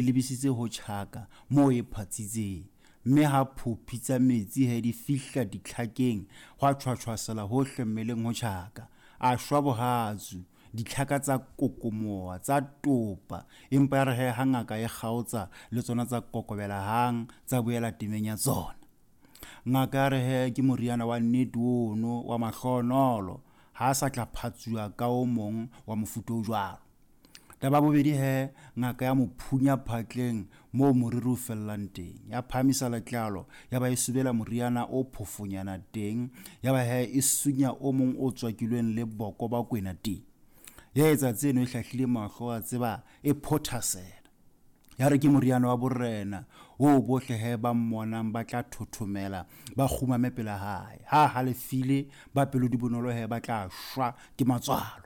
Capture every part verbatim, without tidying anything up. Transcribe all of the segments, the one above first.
Lebisitse ho Tjhaka moo e phatsitseng. Mme ha phophi tsa metsi he di fihla ditlhakeng, hwa tjhwatjhwasela hohle mmeleng ho Tjhaka. A shwa bohatsu, ditlhaka tsa kokomoha, tsa topa. Empa ya re he ha ngaka e kgaotsa, le tsona tsa kokobela hang, tsa boela temeng ya tsona. Ngaka ya re he ke moriana wa nnete ono wa mahlohonolo, ha a sa tla phatsuwa ka o mong wa mofuta o jwalo. Taba ya bobedi he, ngaka ya mo phunya phatleng moo moriri o fellang teng. Ya phahamisa letlalo, ya ba e subela moriana o phofonyana teng, ya ba he e sunya o mong o tswakilweng le boko ba kwena teng. Ya etsa tseno e hlahlile mahlo, wa tseba e phothasela. Ya re ke moriana wa borena oo bohle he ba mmonang ba tla thothomela, ba kgumame pela hae. Ha halefile, ba pelo di bonolo he ba tla shwa ke matswalo.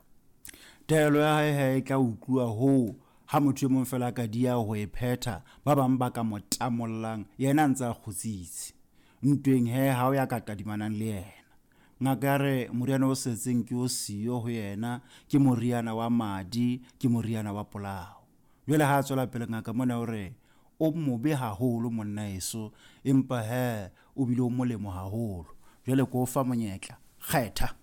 Taelo ya hae he e tla utluwa hoo ha motho e mong fela a ka dia ho e phetha, ba bang ba ka mo tamollang, yena a ntse a kgutsitse. Ntweng he ha o ya ka tadimanang le yena. Ngaka ya re moriana o setseng ke o siyo ho yena, ke moriana wa madi, ke moriana wa polao. Jwale ha a tswela pele ngaka mona o re o mobe haholo monna eso, empa he o bile o molemo haholo. Jwale ke o fa monyetla, kgetha.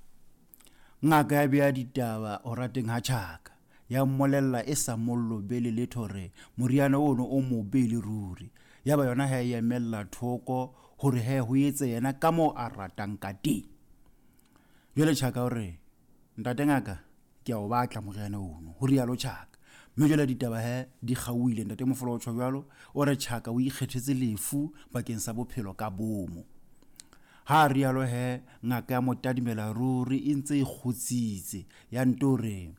Ngaka ya bea ditaba ho rateng ha Tjhaka, ya mmolella e sa mo lobele letho hore moriana ono o mobe le ruri. Ya ba yona ha e emella thoko hore he ho etse yena ka moo a ratang ka teng. Jwale Tjhaka o re, ntate ngaka, ke a o batla moriana ono, ho rialo Tjhaka. Mme jwale ditaba he di kgaohile, ntate Mofolo o tjho jwalo, o re Tjhaka o ikgethetse lefu bakeng sa bophelo ka bomo. Ha rialo he, ngaka ya mo tadimela ruri e ntse e kgutsitse, ya nto re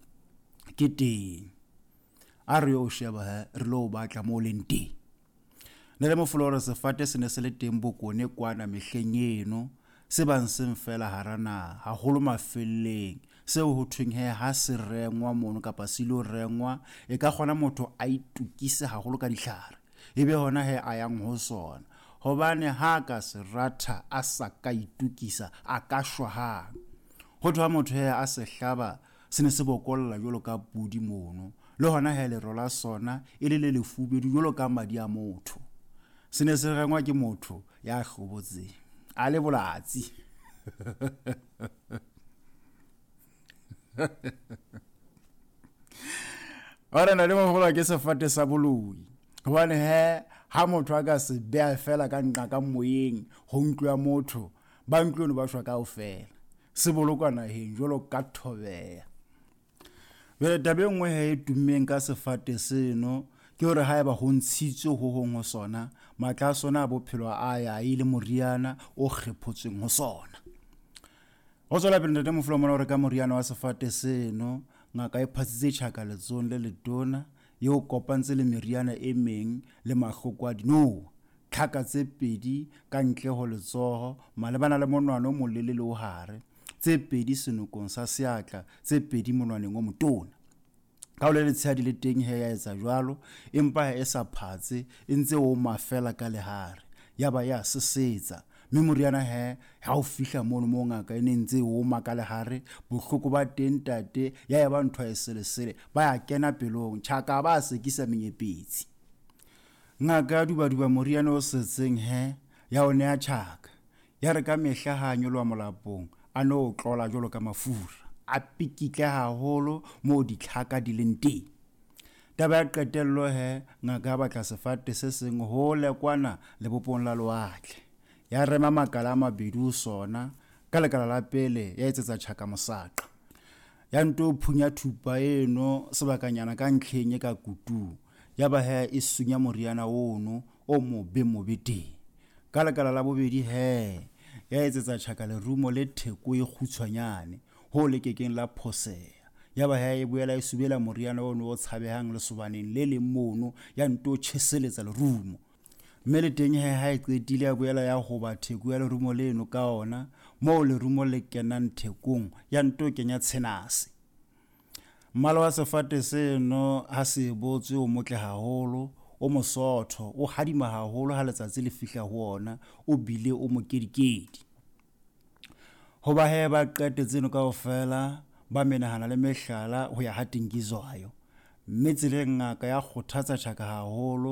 ke teng. A re yo sheba he, re lo batla moo leng teng. Ntate Mofolo o re sefate se ne se le teng Bokone kwana mehleng eno, se bang seng fela hara naha, haholo mafelleng. Seo ho thweng he ha se rengwa mono kapa se ilo rengwa, e ka kgona motho a itokise haholo ka ditlhare, ebe hona he a yang ho sona. Hobane ha ka se ratha a sa ka itokisa, a ka shwa hang. Ho thwe ha motho he a se hlaba, se ne se bokolla jwalo ka pudi mono. Le hona he lero la sona e le le lefubedu jwalo ka madi a motho. Se ne se rengwa ke motho ya hlobotseng, a le bolatsi. Ora na le moholo ke sefate sa boloi. Hobane he ha motho a ka se beha fela ka nqa ka moyeng ho ntlo ya motho, ba ntlo eno ba shwa kaofela. Se bolokwa naheng jwalo ka thobeya. Jwale taba e nngwe he e tummeng ka sefate seno ke hore haeba ho ntshitswe ho hong ho sona, matla a sona a bophelo a ya e le moriana o kgephotsweng ho sona. Ho tswela pele ntate Mofolo mona o re ka moriana wa sefate seno, ngaka e phatsitse Tjhaka letsohong le letona, eo kopantse le meriana e meng le mahloko a dinoha, tlhaka tse pedi ka ntle ho letsoho malebana le monwana o molelele o hare, tse pedi senokong sa seatla, tse pedi monwaneng o motona. Ka ho le letshehadi le teng he ya etsa jwalo, empa e sa phatse, e ntse o mafela ka lehare, ya ba ya sesetsa. Mme moriana he ha o fihla mono moo ngaka e ne ntse o ma ka lehare, bohloko ba teng ntate ya eba ntho e selesele, ba ya kena pelong, Tjhaka ba sekisa menyepetsi. Ngaka ya dubaduba moriana o setseng he ya o neha Tjhaka. Ya re ka mehla ha a nyoloha molapong, a no tlola jwalo ka mafura, a pikitle haholo moo ditlhaka di leng teng. Taba ya qetello he, ngaka ya batla sefate se seng hole kwana lebopong la lewatle. Ya rema makala a mabedi ho sona, ka lekala la pele ya etsetsa Tjhaka mosaqa. Ya nto phunya thupa eno sebakanyana ka ntlheng e ka kutung, ya ba he e sunya moriana ono o mobe mobe teng. Ka lekala la bobedi he, ya etsetsa Tjhaka lerumo le theko e kgutshwanyane ho le kekeng la phoseha. Ya ba he e boela e subela moriana ono o tshabehang lesobaneng le leng mono, ya nto tjheseletsa lerumo. Mme le teng he ha e qetile ya boela ya hoba theko ya lerumo leno ka ona, moo lerumo le kenang thekong, ya nto kenya tshenase. Mmala wa sefate seno ha se botswe o motle haholo, o mosotho, o hadima haholo ha letsatsi le fihla ho ona, o bile o mokedikedi. Hoba he ba qete tseno kaofela, ba menahana le mehlala ho ya ha Tingizwayo. Mme tseleng ngaka ya kgothatsa Tjhaka haholo.